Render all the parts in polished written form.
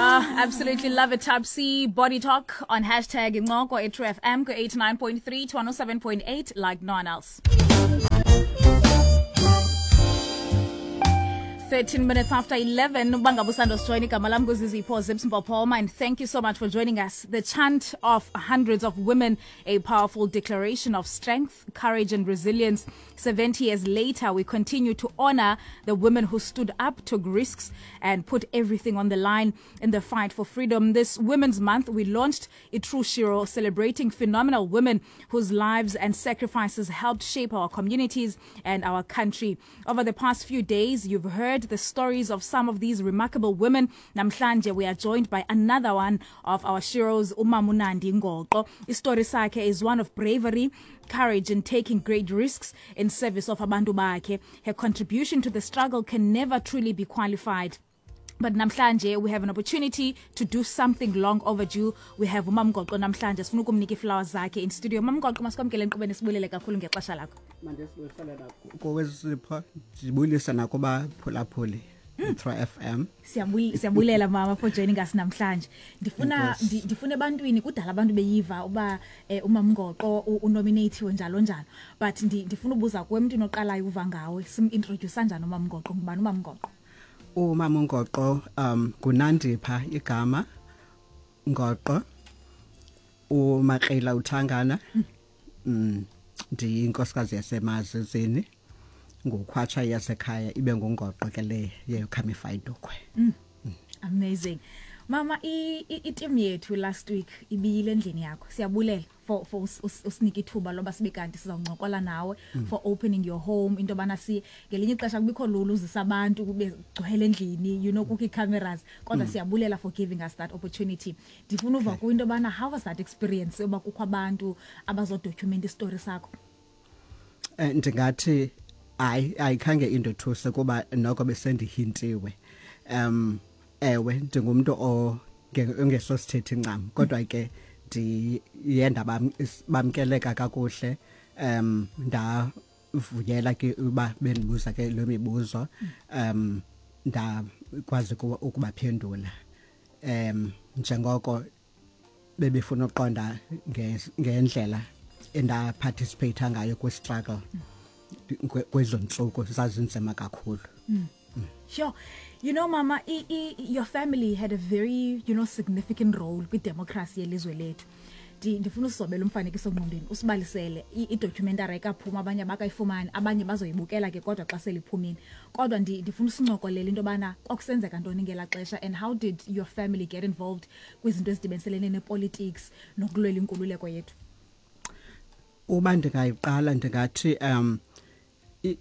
Absolutely love it, Topsy. Body Talk on hashtag Incoko at True FM go 89.3 to 107.8 like no one else. 13 minutes after 11 ubanga busando sijoyina igama lam nguzizipho Zips Mpophoma, and thank you so much for joining us. The chant of hundreds of women, a powerful declaration of strength, courage and resilience. 70 years later, we continue to honor the women who stood up, took risks and put everything on the line in the fight for freedom. This Women's Month, we launched Itrue Shiro, celebrating phenomenal women whose lives and sacrifices helped shape our communities and our country. Over the past few days, you've heard the stories of some of these remarkable women. Namhlanje, we are joined by another one of our sheroes, uMamunandi Ngoqo. Istory sakhe is one of bravery, courage and taking great risks in service of abantu bakhe. Her contribution to the struggle can never truly be qualified. But namhlanje we have an opportunity to do something long overdue. We have uMamgoqo namhlanje, sifuna ukumnika ii-flowers zakhe in studio. Mamgoqo, masikwamkele enkqubeni, sibulele kakhulu ngexesha lakho. Mandisibuyisele kowezipho, ndibulise nakubaphulaphuli Metro FM. Siyabulela mama for joining us namhlanje. Ndifuna ndifuna ebantwini, kudala abantu beyiva uba uMamgoqo unominatiwe njalo njalo, but ndifuna ubuza kuwe, emntwini oqalayo uva ngawe, sim-introduce njani uMamgoqo? Ngubani uMamgoqo? Umama uNgoqo nguNandipha igama, Ngoqo, uMakrela uThangana. Ndiyinkosikazi yaseMazizini, ngukhwatsha yasekhaya, ibe nguNgoqo ke le yeKhamifayindukwe. Amazing. Mama, i-team yethu last week ibiyile endlini yakho. Siyabulela for usinika ithuba loba sibe kanti sizawuncokola nawe, for opening your home, into yobana si ngelinye ixesha kubikho lula uzisa abantu kube gcwele endlini, kukho ii-cameras, kodwa siyabulela for giving us that opportunity. Ndifuna uva kuyo into yobana how was that experience yoba kukho abantu abazodocument isitori sakho? Ndingathi hayi, ayikhange indothuse kuba noko besendihintiwe. Ewe, ndingumuntu ongesosithethi ncam, kodwa ke ndiye ndabamkeleka kakuhle. Ndavuyela ke uba bendibuza ke lo mibuzo, ndakwazi ukubaphendula njengoko bebefuna uqonda ngendlela endaparticipate ngayo kwi-struggle kwezo ntsuku zazinzima kakhulu. Sure. Mama, your family had a very significant role kwi-democracy yelizwe lethu. Ndifuna usizobela umfanekiso ngqondweni, usibalisele idocumentary ekaphuma, abanye abakayifumani, abanye bazoyibukela ke kodwa xa seliphumile. Kodwa ndifuna usincokolele into yobana kwakusenzeka ntoni ngelaa xesha and how did your family get involved kwizinto ezidibaniselene nepolitics nokulwela inkululeko yethu? Uba ndingayiqala, ndingathi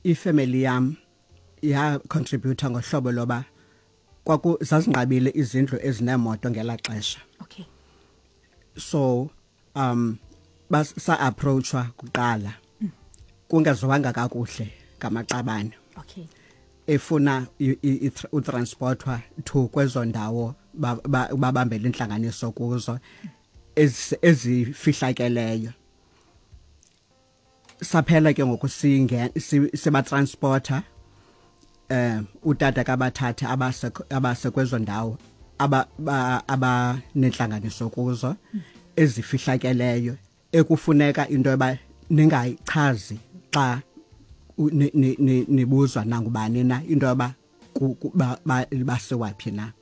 ifamily yam ya contributor ngohlobo loba kwaku zazinqabile izindlu ezinemoto ngelaa xesha. So basa approachwa kuqala kungaziwanga kakuhle ngamaqabane efuna utransportwa to kwezo ndawo babambele intlanganiso kuzo ezifihlakeleyo. Saphela ke ngoku sibatransporter, utata kabathatha abase kwezo ndawo abanentlanganiso kuzo ezifihlakeleyo, ekufuneka into yoba ningayichazi xa nibuzwa nangubani na into yoba basiwaphi na.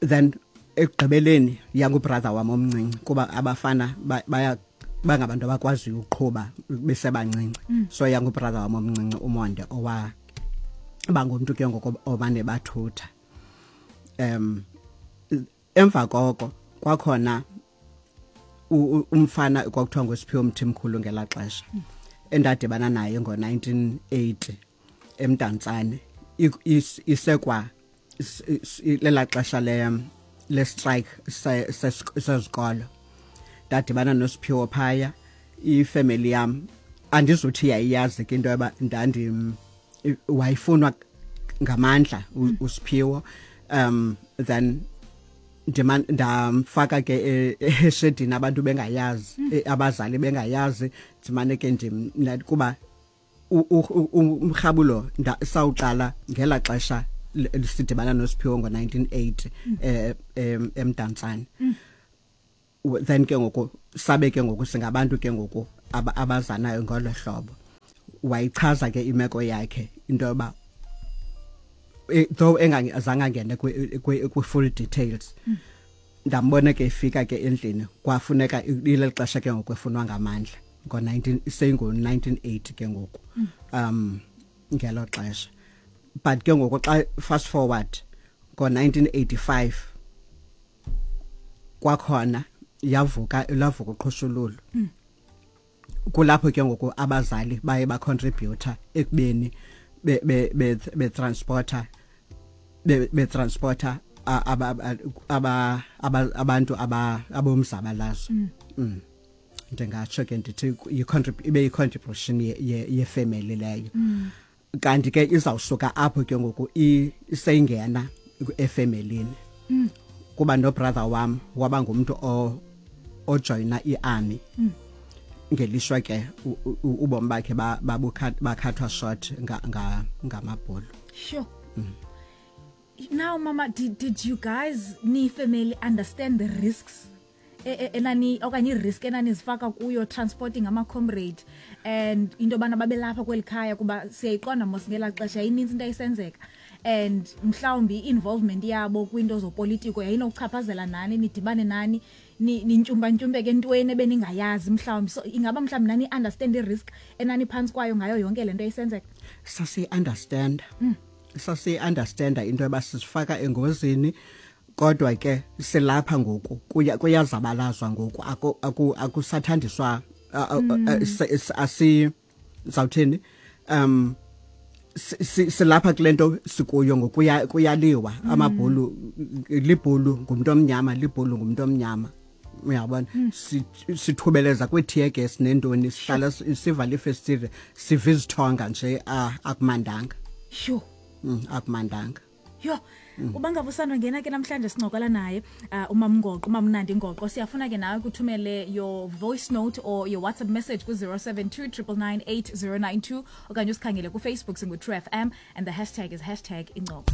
Then ekugqibeleni yangubrother wam omncinci, kuba abafana baya bangabantu abakwaziyo ukuqhuba besebancinci, so yangubrother wam omncinci uMonde owa bangumntu ke ngoku obane bathutha. Emva koko kwakhona umfana kwakuthiwa nguSiphiwo Mthimkhulu ngelaa xesha, endadibana naye ngo-1980 eMdantsane, isekwa lelaa xesha le strike sezikolo. Ndadibana noSiphiwo phaya. Ifamily yam andizuthi yayiyazi ke into yoba ndandi wayifunwa ngamandla uSiphiwo. Then ndima ndamfaka ke eshedini, abantu bengayazi, abazali bengayazi. Ndimane ke ndim kuba umrhabulo sawuqala ngela xesha. Sidibana noSiphiwo ngo-1980 eMdantsane. Then ke ngoku sabe ke ngoku singabantu ke ngoku abazanayo ngolo hlobo. Wayichaza ke imeko yakhe into yoba, though engazange angene kwi-full details. Ndambona ke efika ke endlini, kwafuneka ileli xesha ke ngoku efunwa ngamandla ngo-19, seyingo-1980 ke ngoku ngelo xesha. But ke ngoku xa fast forward ngo-1985 kwakhona yavuka, lavuka uqhushululu. Kulapho ke ngoku abazali baye bacontributa ekubeni be-transporta abantu abomzabalazo. Ndingatsho ke ndithi ibe yi-contribution yefamily leyo. Kanti ke izawusuka apho ke ngoku iseyingena efemelini, kuba no-brother wam waba ngumntu ojoyina i-army. Ngelishwa ke ubomi bakhe bakhathwa short ngamabhulu. Sure. Now, Mama, did you guys, ni family, understand the risks enani okanye i-risk enanizifaka kuyo transporting ama-comrade and into yobana babelapha kweli khaya? Kuba siyayiqonda mos ngelaa xesha yayinintsi into ayisenzeka, and mhlawumbi i-involvement yabo kwinto zopolitiko yayinokuchaphazela nani, nidibane nani nintyumpantyumpeke entweni ebeningayazi mhlawumbi. So ingaba mhlawumbi nani understand i-risk enaniphantsi kwayo ngayo yonke le nto ayisenzeka? Sasiyi-understand, sasiyi-understanda into yoba sisifaka engozini, kodwa ke silapha ngoku, kuyazabalazwa ngoku, akusathandiswa asi zawuthini, silapha kule nto sikuyo ngoku, kuyaliwa amabhulu, libhulu ngumuntu omnyama, libhulu ngumuntu omnyama, uyabona. Sithubeleza kwi-tear gas nentoni, sihlala sivala ifestile, siva izithonga nje, akumandanga. Sure. Akumandanga. Yho, uba ngaba usandongena ke namhlanje, sincokola naye uMamNgoqo, uMamnandi Ngoqo. Siyafuna ke nawe kuthumele your voice note or your WhatsApp message ku-072 999 8092 okanye usikhangele kuFacebook, singu-True FM, and the hashtag is #Incoko.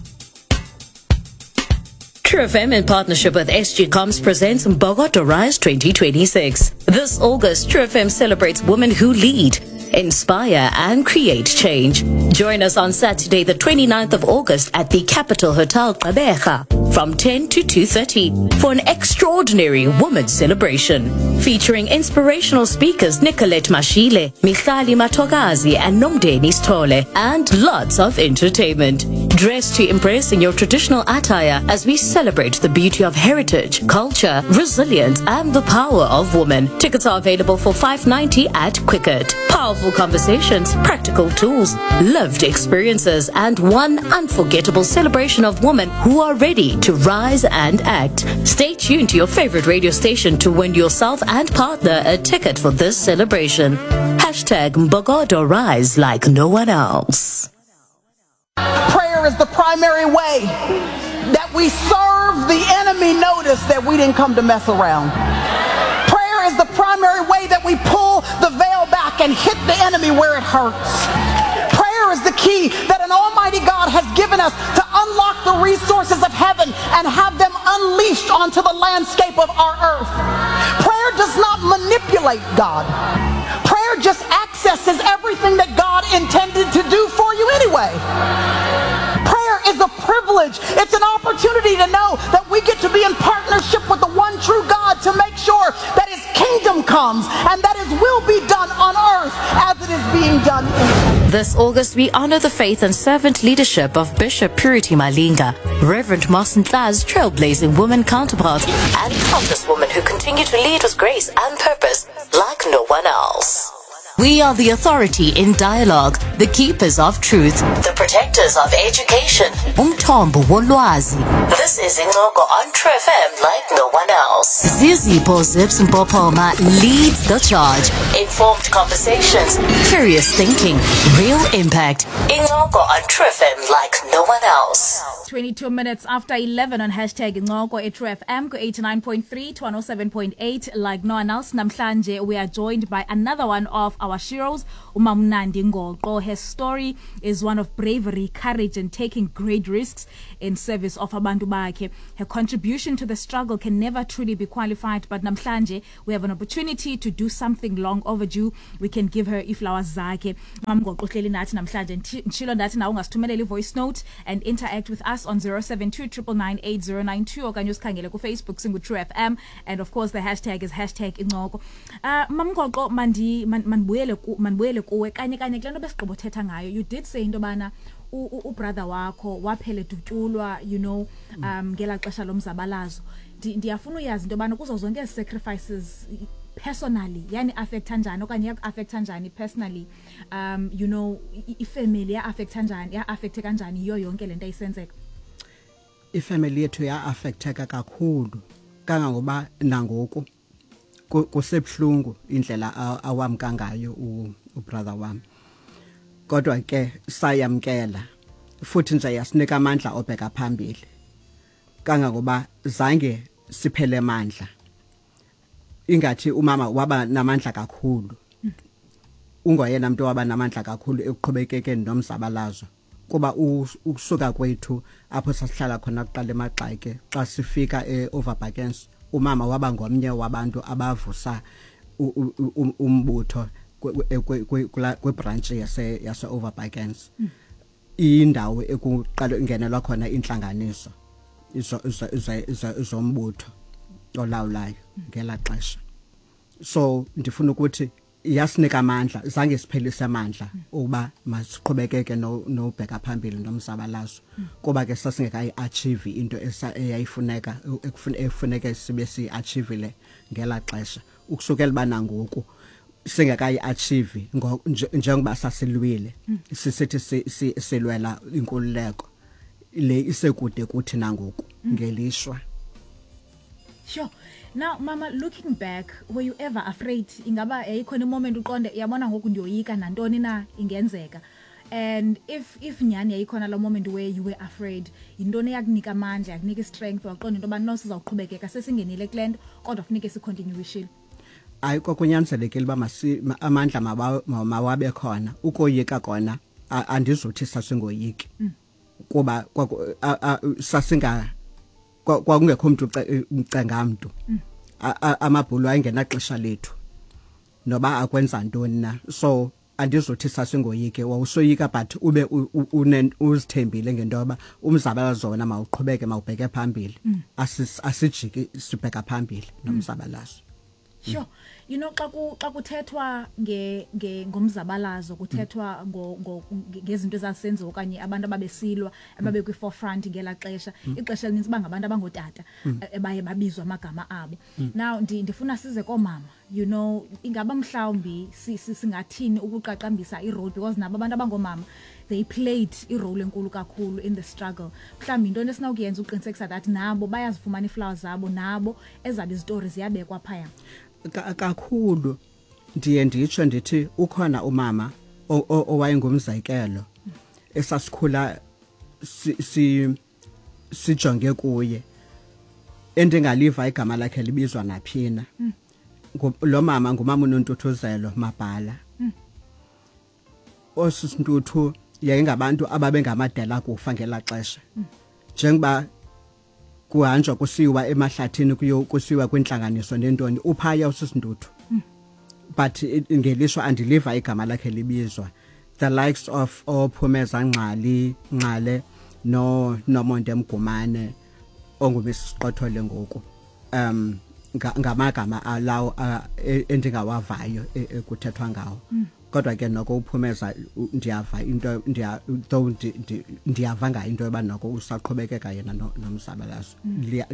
True FM in partnership with SG Comms presents Mbokodo Rise 2026. This August, True FM celebrates women who lead, inspire and create change. Join us on Saturday, the 29th of August at the Capital Hotel Gqeberha from 10 to 2:30 for an extraordinary women's celebration featuring inspirational speakers Nicolette Mashile, Michali Matogazi and Nomdeni Stole, and lots of entertainment. Dress to impress in your traditional attire as we celebrate the beauty of heritage, culture, resilience and the power of women. Tickets are available for 590 at Quicket. Powerful conversations, practical tools, lived experiences and one unforgettable celebration of women who are ready to rise and act. Stay tuned to your favorite radio station to win yourself and partner a ticket for this celebration. #Mbokodo Rise like no one else. Prayer is the primary way that we serve the enemy notice that we didn't come to mess around. Prayer is the primary way that we pull the veil back and hit the enemy where it hurts. Prayer is the key that an almighty God has given us to unlock the resources of heaven and have them unleashed onto the landscape of our earth. Prayer does not manipulate God. Prayer just accesses everything that God intended to do for you anyway. Prayer is a privilege. It's an opportunity to know that we get to be in partnership with the one true God to make sure that his kingdom comes and that his will be done on earth as it is being done in heaven. This August, we honor the faith and servant leadership of Bishop Purity Malinga, Reverend Martin Tla's trailblazing woman counterpart, and countless women who continue to lead with grace and purpose like no one else. We are the authority in dialogue, the keepers of truth, the protectors of education. Umthombo wolwazi. This is Incoko on True FM like no one else. Zizipho Zips Mpopoma leads the charge. Informed conversations, curious thinking, real impact. Incoko on True FM like no one else. 22 minutes after 11 on hashtag Incoko eTrue FM ku 89.3 to 107.8 like no one else. Namhlanje we are joined by another one of our sheroes, uMamnandi Ngoqo. Her story is one of bravery, courage and taking great risks in service of abantu bakhe. Her contribution to the struggle can never truly be qualified, but namhlanje we have an opportunity to do something long overdue. We can give her iflowers zakhe. Mamngoqo uhleli nathi namhlanje. Nditshilo ndathi nawe ungasithumelela i-voice note and interact with us on 072 999 okanye usikhangele kuFacebook singu-True FM, and of course the hashtag is hashtag Incoko. Mamngoqo, mandibuyele kuwe kanye kanye kule nto besigqibothetha ngayo. You did say into yobana ubrother wakho waphela edutyulwa ngelaa xesha lomzabalazo. Ndiyafuna uyazi into yobana kuzo zonke ezi sacrifices, personally yani affecta njani okanye yaku-affecta njani personally, ifamily ya-affecta njani, ya-affecte kanjani yiyo yonke le nto ayisenzeka? Ifamily yethu ya-affecteka kakhulu, kangangoba nangoku kusebuhlungu indlela awamka ngayo ubrother wami. Kodwa ke sayamkela, futhi nje yasinika amandla obheka phambili, kangangoba zange siphele amandla. Ingathi umama waba namandla kakhulu, ungoyena umuntu waba namandla kakhulu ekuqhubekekeni nomzabalazo, kuba ukusuka kwethu apho sasihlala khona kuqala eMaxake, xa sifika eOverbakkens, umama waba ngomnye wabantu abavusa umbutho kwibranch yase Overbakkens, indawo ekuqala ingenelwa khona inhlanganiso izombutho olawulayo ngela xesha. So ndifuna ukuthi yasinika amandla, zange siphelise amandla ukuba masiqhubekeke nobheka phambili nomzabalazo, kuba ke sasingekayi achieve into eyayifuneka, efuneka sibe si achievile ngela xesha. Ukusukela bana ngoku singekayi achieve njengoba sasilwile, sisithi silwela inkululeko le isekude kuthi nangoku, ngelishwa. Sure. Now, Mama, looking back, were you ever afraid? Ingaba yayikhona moment uqonde, yabona ngoku ndiyoyika, nantoni na ingenzeka? And if nyhani yayikhona lo moment where you were afraid, yintoni eyakunika amandla, yakunika strength, waqonda into yoba no, sizawuqhubekeka, sesingenile kule nto, kodwa funeke sicontinuishile? Hayi, kwakunyanzelekile uba amandla mawabe khona. Ukoyika kona, andizothi sasingoyiki, kuba sasinga kwakungekho umuntu ucenga mntu. Amabhulu ayengenaxesha lethu noba akwenza ntoni na, so andizothi sasingoyike. Wawusoyika, but ube uzithembile ngento yoba umzabalazo wona mawuqhubeke, mawubheke phambili. Asijiki, sibheka phambili nomzabalazo. Sure. Xa kuthethwa nge nge ngomzabalazo, kuthethwa ngo ngezinto ezazisenziwa okanye abantu ababesilwa, ababe kwi forefront ngela xesha. Ixesha elininzi bangabantu abangotata ebaye babizwa amagama abo. Now ndifuna size koomama. Ingaba mhlawumbi singathini ukuqaqambisa irole, because nabo abantu abangomama, they played irole enkulu kakhulu in the struggle. Mhlawumbi into esinokuyenza uqinisekisa that nabo bayazifumana iiflowers zabo, nabo ezabo izitori ziyabekwa phaya? Kakhulu. Ndiye nditsho ndithi ukhona umama owayengumzekelo esasikhula sijonge kuye, endingaliva igama lakhe libizwa naphina. Lo mama ngumama uNontuthuzelo Mabhala. Osisintuthu yayingabantu ababengamadela kufa ngela xesha, njengoba kuhanjwa kusiwa emahlathini, kuyo kusiwa kwintlanganiso nentoni, uphaya usisintuthu, but ngelishwa andiliva igama lakhe libizwa. The likes of oPhumeza Ngxali Ngxale no Nomonde Mgumane onguMrs ngoku, ngamagama alawo endingawavayo ekuthethwa ngawo. Kodwa ke noko uPhumeza ndiyava into, ndiya though ndiyava ngayo into yoba noko usaqhubekeka yena nomzabalazo.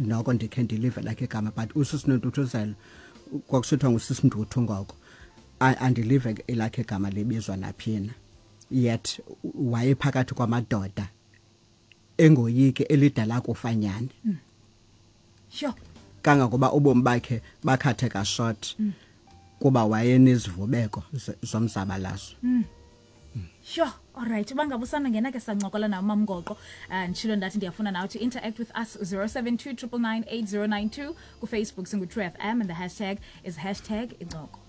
Noko ndikhe ndilive lakhe igama, but uSisinontuthuzelo, kwakusithiwa nguSisintuthu ngoko, andilive elakhe igama libizwa naphina, yet wayephakathi kwamadoda engoyike, elidala kufanyane. Kangangoba ubomi bakhe bakhatheka short kuba wayenezivubeko zomzabalazo. Sure. All right. Uba ngaba usana ke sancokola nawo Mamngoqo. Nditshilo ndathi ndiyafuna nawe to interact with us 072 999 8092 ku-Facebook singu True FM and the hashtag is hashtag incoko.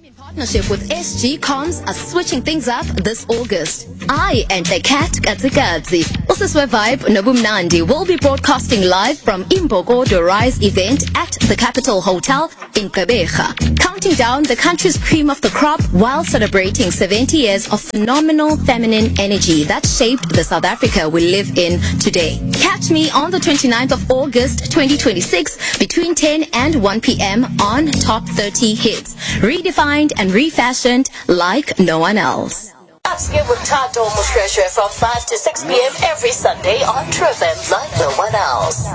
In partnership with SG Comms are switching things up this August. I and the cat Katsikatsi, Usiswe Vibe Nobumnandi will be broadcasting live from Imbokodo Rise event at the Capital Hotel in Gqeberha, counting down the country's cream of the crop while celebrating 70 years of phenomenal feminine energy that shaped the South Africa we live in today. Catch me on the 29th of August 2026 between 10 and 1 p.m. on Top 30 Hits. Redefined and refashioned like no one else. Upscale with Tato Mushresha from 5 to 6 p.m. every Sunday on True FM like no one else.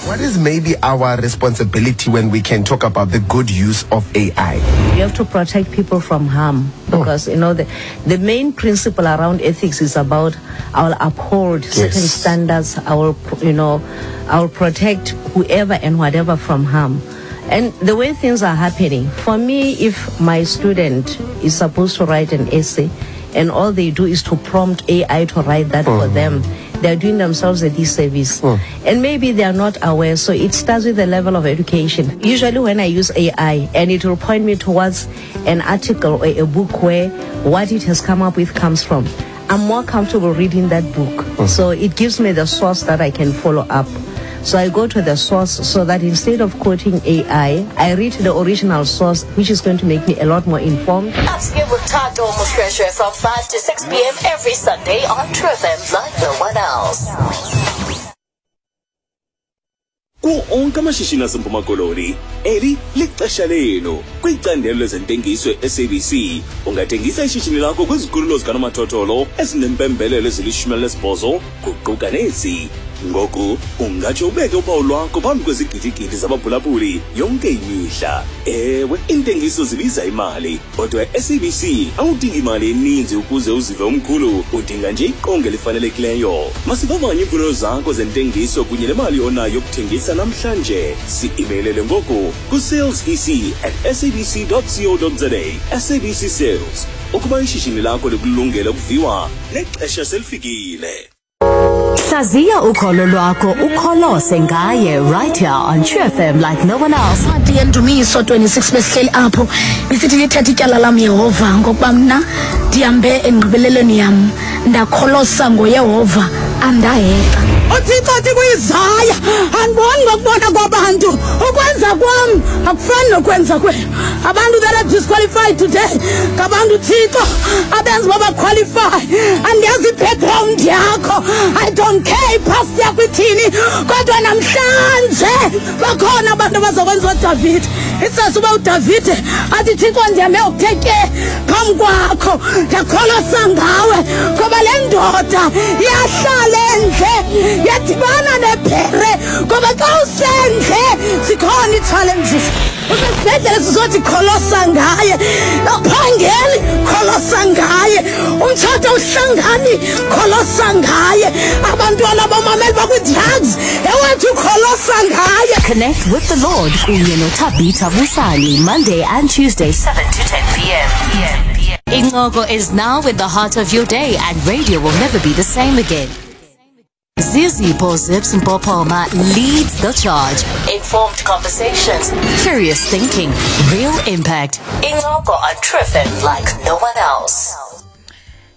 What is maybe our responsibility when we can talk about the good use of AI? You have to protect people from harm because, you know, the main principle around ethics is about I will uphold certain standards, I will, you know, I will protect whoever and whatever from harm. And the way things are happening, for me, if my student is supposed to write an essay and all they do is to prompt AI to write that for them, they're doing themselves a disservice. And maybe they are not aware. So it starts with the level of education. Usually when I use AI, and it will point me towards an article or a book where what it has come up with comes from, I'm more comfortable reading that book. So it gives me the source that I can follow up. So I go to the source so that instead of quoting AI, I read the original source, which is going to make me a lot more informed. Upscale with Tato Mushresha from 5 to 6 p.m. every Sunday on True FM like no one else. Kuwo onke amashishini aseMpuma Koloni, eli lixesha lenu. Kwicandelo lezentengiso e-SABC, ungathengisa ishishini lakho kwizikhululo zikanomathotholo ezinempembelelo ezili-18, kuquka nezi. Ngoku ungatsho ubeke uphawu lwakho phambi kwezigidigidi zabaphulaphuli yonke imihla. Ewe, iintengiso zibiza imali, kodwa e-SABC awudingi imali eninzi ukuze uzive umkhulu, udinga nje iqonga elifanelekileyo. Masivavanye iimfuno zakho zentengiso kunye nemali onayo yokuthengisa namhlanje. Si-imeyilele ngoku ku-salesec@sabc.co.za. SABC Sales. Ukuba ishishini lakho likulungele ukuviwa, nexesha selifikile. Hlaziya ukholo lwakho ukholose ngaye right here on True FM like no one else. Incwadi yeNdumiso 26, besihleli apho isithi, "Lithetha ityala lam, Yehova, ngokuba mna ndihambe engqibelelweni yam, ndakholosa ngoYehova, andahexa." UThixo athi kuIsaya, "Andiboni ngokubona kwabantu, ukwenza kwam akufani nokwenza kwenu." Abantu that are disqualified today ngabantu Thixo abenza uba baqualify. Andiyazi i-background yakho, I don't care ipast yakho ithini, kodwa namhlanje bakhona abantu abazokwenza uDavide. Isase uba uDavide athi, "Thixo, ndihambe okuthe ke phambi kwakho, ndakholosa ngawe," ngoba le ndoda yahlala endle, yadibana nebhere, ngoba xa usendle zikhona ii-challenges. Usesibhedlele, sizothi kholosa ngaye. Awuphangeli, kholosa ngaye. Umtshato awuhlangani, kholosa ngaye. Abantwana bomameli bakwi-drugs, ewethu, kholosa ngaye. Connect with the Lord kunye noThabitha Busani Monday and Tuesday 7 to 10 p.m. Incoko is now in the heart of your day and radio will never be the same again. Zizipho Zips Mpopoma leads the charge. Informed conversations, curious thinking, real impact. Incoko on True FM like no one else.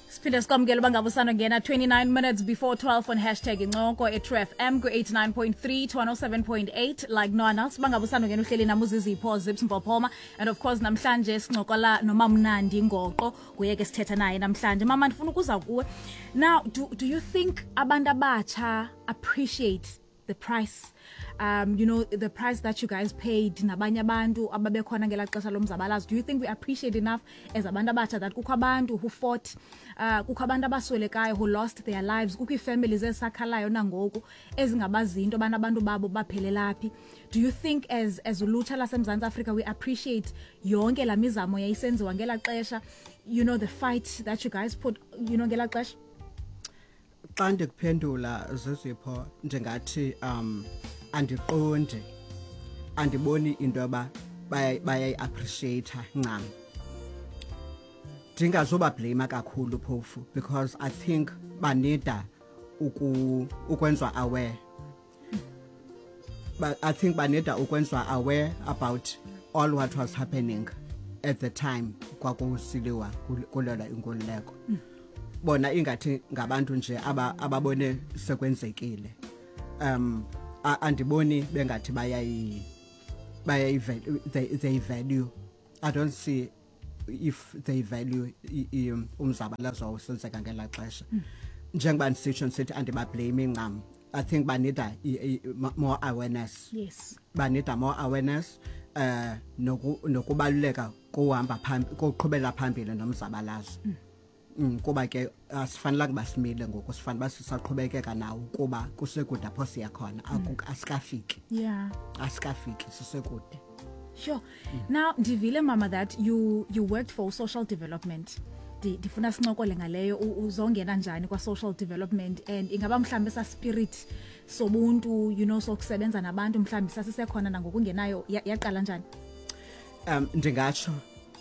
Siphinde sikwamukela uba ngabe usandongena, 29 minutes before 12 on hashtag incoko e-True FM ku-89.3 to 107.8 like no one else. Uba ngabe usandongena, uhleli nam uZizipho Zips Mpophoma, and of course namhlanje sincokola noMamnandi Ngoqo, nguye ke sithetha naye namhlanje. Mama, ndifuna ukuza kuwe now. Do you think abantu abatsha appreciate the price, the price that you guys paid nabanye abantu ababekhona ngelaa xesha lomzabalazo? Do you think we appreciate enough as abantu abatsha that kukho abantu who fought, kukho abantu abaswelekayo who lost their lives, kukho ii-families ezisakhalayo nangoku ezingabazinto abana abantu babo baphelela phi? Do you think as ulutsha laseMzantsi Afrika we appreciate yonke laa mizamo yayisenziwa ngelaa xesha, the fight that you guys put ngelaa xesha? Xa ndikuphendula, Zizipho, ndingathi andiqondi, andiboni into yoba bayayi-appreciate ncam. Ndingazoba blame kakhulu phofu, because I think banida ukwenzwa aware, but I think banida ukwenzwa aware about all what was happening at the time kwakusiliwa kulwela inkululeko. Bona ingathi ngabantu nje ababone sekwenzekile. Andiboni bengathi bayayi they value, I don't see if they value umzabalazo wawusenzeka ngelaa xesha. Njengoba ndisitsho, ndisithi andibablame ncam, I think banida more awareness. Banida more awareness nokubaluleka kuhamba phambi, koqhubela phambili nomzabalazo. Kuba ke asifanelanga basimile ngoku, sifanele basisaqhubekeka nawo kuba kusekude apho siya khona. Asikafiki. Asikafiki, sisekude. Sure. Now ndivile, mama, that you worked for social development. Ndifuna sincokole ngaleyo, uzongena njani kwa social development, and ingaba mhlambe sa spirit sobuntu sokusebenza nabantu mhlambe sasisekhona nangokungenayo, yaqala njani? Ndingatsho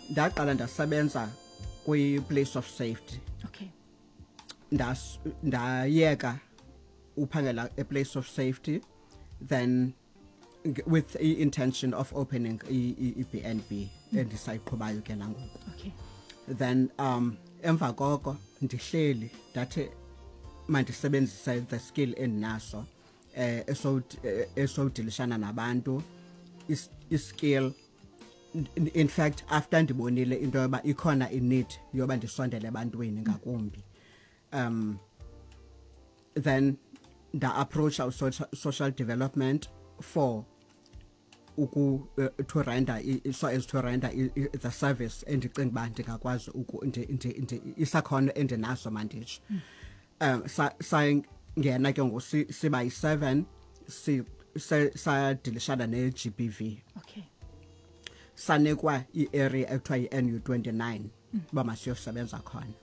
ndaqala ndasebenza kwi place of safety. Ndayeka uphangela a place of safety, then with the intention of opening i-B&B endisayiqhubayo ke nangoku. Then emva koko ndihleli, ndathi mandisebenzise the skill endinaso esodilishana nabantu, iskill. In fact, after ndibonile into yoba ikhona i-need yoba ndisondele ebantwini ngakumbi, then nda approach our social development for uku to render so as to render the service endicinga uba ndingakwazi isakhono endinaso, manditsho. Sayingena ke ngoku siba yi-7, sadilishana ne-GBV. Sanikwa i-area ekuthiwa yi-NU 29 uba masiyosebenza khona.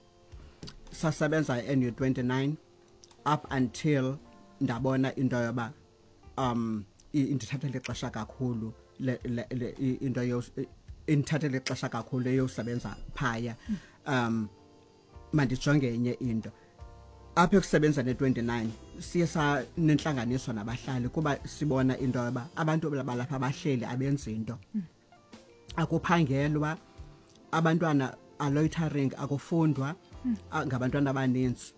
Sasebenza i-NU 29 up until ndabona into yoba indithathele ixesha kakhulu le into indithathele ixesha kakhulu eyosebenza phaya. Mandijonge enye into apha ekusebenza ne-29. Siye sanentlanganiso nabahlali kuba sibona into yoba abantu balapha bahleli, abenzi into, akuphangelwa, abantwana are loitering, akufundwa ngabantwana abaninzi.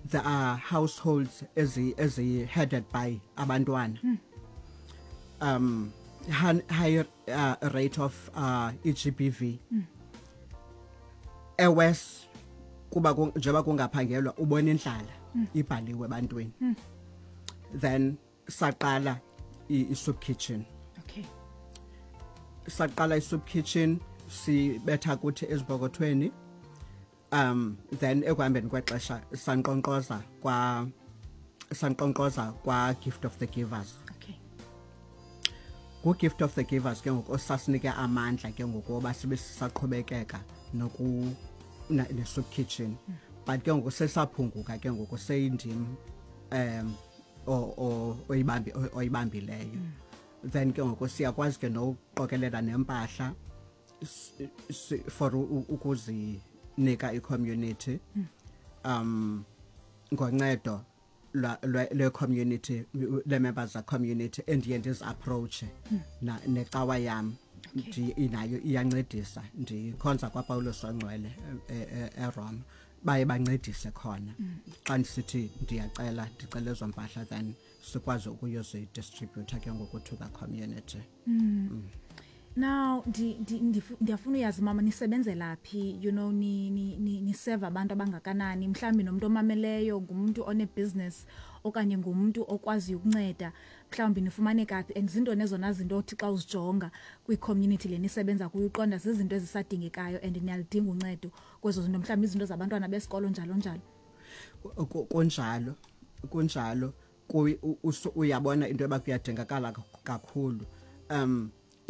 There are households ezi headed by abantwana, higher rate of iGBV ewest kuba njengoba kungaphangelwa, ubona indlala ibhaliwe ebantwini. Then saqala i-soup kitchen. Saqala i-soup kitchen, sibetha kuthi ezipokothweni. Then ekuhambeni kwexesha sanqonqoza kwa Gift of the Givers. Ku Gift of the Givers ke ngoku osasinike amandla ke ngoku oba sibe sisaqhubekeka noku ne soup kitchen, but ke ngoku sesaphunguka ke ngoku, seyindim o oyibambi oyibambileyo. Then ke ngoku siyakwazi ke nokuqokelela nempahla for ukuzinika i-community ngoncedo lwe community, le members za community endiye ndizi-approach na necawa yam. Inayo iyancedisa, ndikhonza kwaPawulos Ongcwele eRoma, baye bancedise khona xa ndisithi ndiyacela, ndicela ezo mpahla, then sikwazi ukuyozidistribute ke ngoku to the community. Now ndiyafuna uyazi, mama, nisebenzela phi, ni ni ni niseva abantu abangakanani? Mhlawumbi nomuntu omameleyo ngumuntu one-business okanye ngumuntu okwaziyo ukunceda, mhlawumbi nifumaneka phi, and zintoni ezona zinto othi xa uzijonga kwi-community le nisebenza kuyo uqonda zizinto ezisadingekayo and niyalidinga uncedo kwezo zinto, mhlawumbi izinto zabantwana besikolo, njalo njalo? Kunjalo, kunjalo. Uyabona into yoba kuyadingakala kakhulu.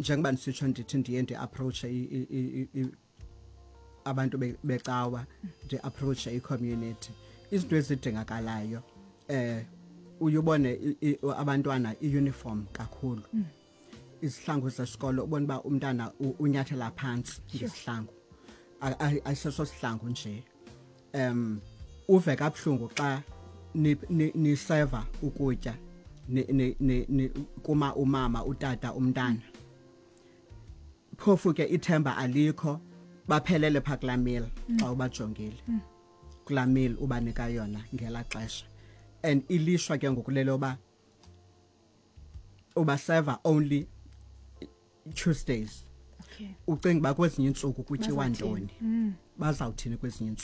Njengoba ndisitsho, ndithi ndiye ndi-approach abantu becawa, ndi-approach i-community, izinto ezidingakalayo, uyubone abantwana i-uniform kakhulu, izihlangu zesikolo, ubona uba umntana unyathela phantsi ngesihlangu. Ayiseso sihlangu nje. Uve kabuhlungu xa niseva ukutya, kuma umama, utata, umntana, phofu ke ithemba alikho, baphelele phaa kulaa meal. Xa ubajongile kulaa meal ubanika yona ngelaa xesha, and ilishwa ke ngokulele yoba ubaseva only Tuesdays. Ucinga uba kwezinye iintsuku kutyiwa Bazawuthini? ntoni? Bazawuthini kwezinye iintsuku?